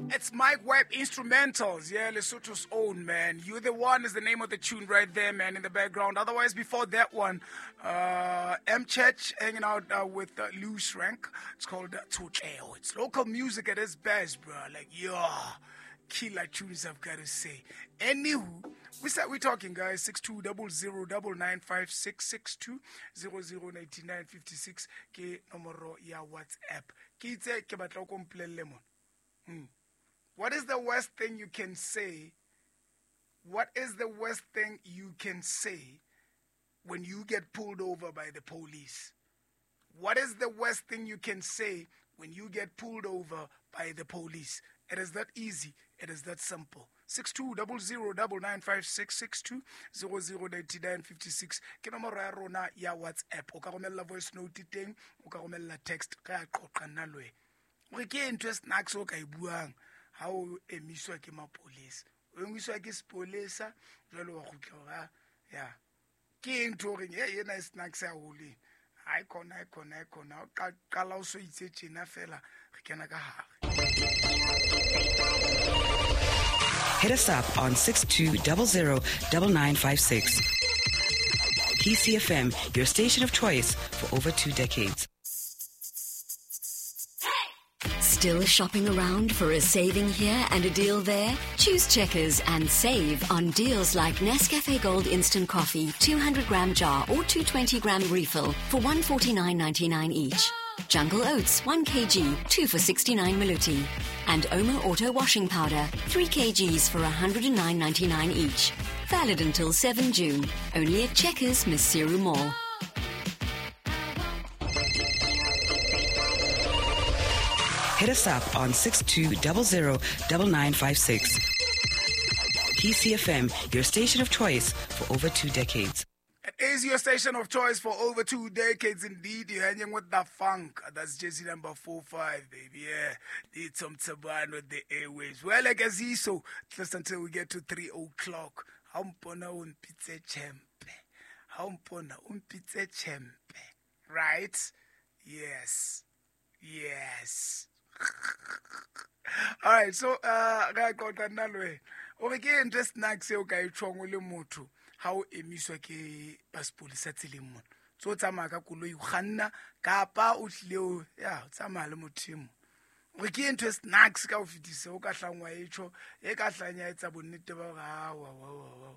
It's Mike Webb Instrumentals, yeah, Lesotho's own, man. You the One is the name of the tune right there, man, in the background. Otherwise, before that one, M Church hanging out with Loose Rank. It's called Tsotleo. It's local music at its best, bro. Like, yeah, killer tunes, I've got to say. Anywho, we said we're talking, guys. 6200 9956 6200 9956 ke nomoro ya WhatsApp. Ke itse ke batla o ko mpolelle mona. What is the worst thing you can say? What is the worst thing you can say when you get pulled over by the police? What is the worst thing you can say when you get pulled over by the police? It is that easy. It is that simple. 6200 9956 6200 9956 ke nomoro ya rona ya WhatsApp. O ka romella voice note teng, o ka romella text, re a qoqa nna le wena. Gore ke ntho e snacks o ka e buang ha o emiswa ke mapolesa, o emiswa ke sepolesa jwale wa kgutla hore ya ke eng ntho o reng e ena e snacks haholo ena. Ha e khona, ha e khona, ha e khona. O qala o so itse tjena fela re kena ka hare. Hit us up on 6200 9956. PCFM, your station of choice for over 2 decades. Still shopping around for a saving here and a deal there? Choose Checkers and save on deals like Nescafe Gold Instant Coffee, 200 gram jar or 220 gram refill for 149.99 each. Jungle Oats, 1 kg, 2 for 69 maloti. And Omo Auto Washing Powder, 3 kgs for 109.99 each. Valid until 7 June. Only at Checkers, Maseru Mall. Hit us up on 6200 9956. PCFM, your station of choice for over 2 decades. It is your station of choice for over 2 decades indeed. You're hanging with the funk. That's jersey number 45, baby. Yeah. Need some Taban with the airwaves. Well, like as so, just until we get to 3 o'clock. Ha o mpona o mpitse chempe. Ha o mpona o mpitse chempe. Right? Yes. Yes. All right, so re a qoqa nna le wena. O re ke ntho e snacks eo ka e tjhong o le motho ha o emiswa ke ba sepolesa tseleng mona. Tso tsamaya ka koloi o kganna kapa o tlile o ya o tsamaya le motho e mong. O re ke ntho e snacks ka ho fetisa o ka hlang wa e tjho e ka hlang ya etsa bonnete ba hore awa wa wa wa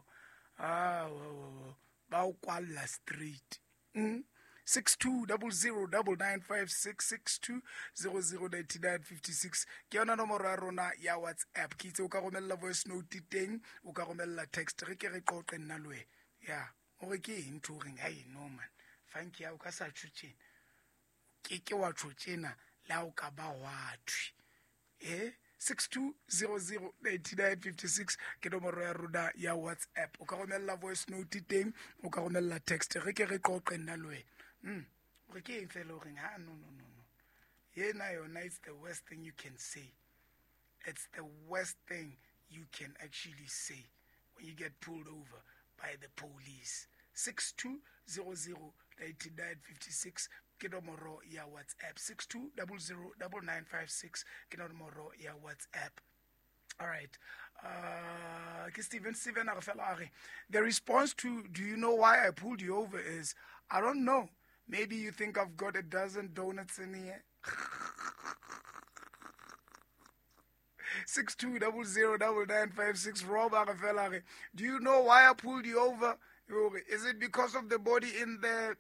awa wa wa ba o kwalla straight. 6200 9956 6200 9956 ke yona nomoro ya rona ya WhatsApp. Ke itse o ka romella voice note teng, o ka romella text, re ke re qoqe nna le wena. Ya o re ke eng ntho o reng ai no man funky ya o ka sa tjho tjena, ke ke wa tjho tjena le ha o ka ba wa thwe 6200 9956 ke nomoro ya rona ya WhatsApp. O ka romella voice note teng, o ka romella text, re ke re qoqe nna le wena. Re ke eng fela o reng ha no no no no yena yona, it's the worst thing you can say. It's the worst thing you can actually say when you get pulled over by the police. 6200 9956 ke nomoro ya WhatsApp. 6200 9956 ke nomoro ya WhatsApp. All right. Ke Steven. Steven a re fela a re, the response to "Do you know why I pulled you over?" is, "I don't know. Maybe you think I've got a dozen donuts in here." 6200 9956. Rob a re fela a re, "Do you know why I pulled you over? Is it because of the body in the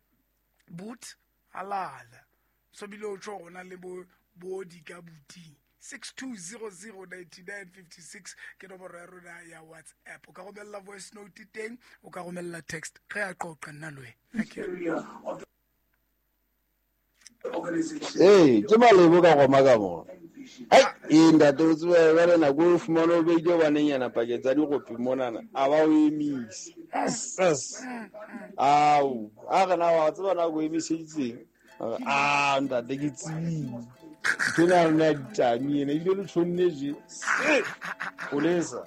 boot?" Halala. So bile o tjho hore o na le bo body ka booting. 6200 9956 ke nomoro ya rona ya WhatsApp. O ka romella voice note teng, o ka romella text, re a qoqa nna le wena. Ee, ke malebo ka goma ka mona. Ai, ee ntate, o tsebe jwale nako o fumane o beile banenyana pakeng tsa digopi monana, a ba o emise. Yes, yes. Ao, a re na wa tseba na ko emiseditseng? A ntate, ke tsebile. Ntho ena ya rona ya ditami ena, ebile le tjhonne je. Polesa.